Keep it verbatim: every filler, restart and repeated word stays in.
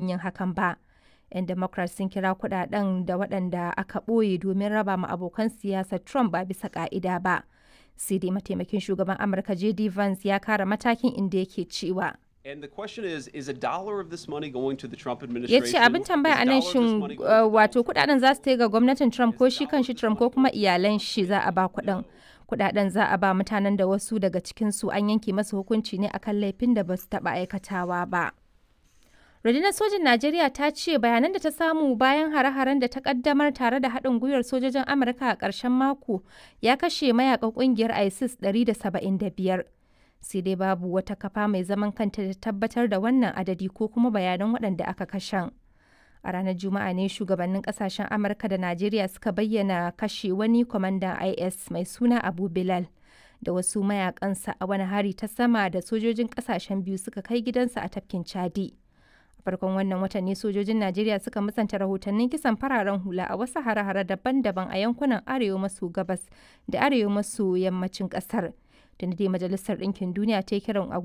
yin hakan ba. 'Yan Democrat sun kira kudaden da waɗanda aka ɓoye domin raba ma abokan siyasar Trump ba bisa ka'ida ba. Sai dai mataimakin shugaban Amurka J D Vance ya kara matakin, inda yake cewa: And the question is, is a dollar of this money going to the Trump Ya administration? ce abin tambaya a nan, shin wato kudaden za su ga gwamnatin Trump ko shi kan shi Trump ko kuma iyalan shi za a ba kudin? Kudaden za a ba mutanen da wasu daga cikinsu an yanke masu hukunci ne akan laifin da ba su taba aikatawa ba. Rundunar sojin Najeriya ta ce bayanan da ta samu bayan hare-haren da ta kaddamar tare da haɗin gwiwar sojojin Amurka a ƙarshen mako ya kashe mayakan ƙungiyar ISIS ɗari da saba'in da biyar. Sai dai babu wata kafa mai zaman kanta da tabbatar da wannan adadi ko kuma bayanan waɗanda aka kashen. A ranar Juma'a ne shugabannin kasashen Amurka da Najeriya suka bayyana kashe wani kwamandan I S mai suna Abu Bilal da wasu mayakansa a wani hari ta sama da sojojin kasashen biyu suka kai gidansa a tafkin Chadi. A farkon wannan watan ne sojojin Najeriya suka musanta rahotannin kisan fararen hula a wasu hare-hare daban-daban a yankunan arewa maso gabas da arewa maso yammacin kasar. Tunda dai Majalisar Ɗinkin Duniya ta yi kiran a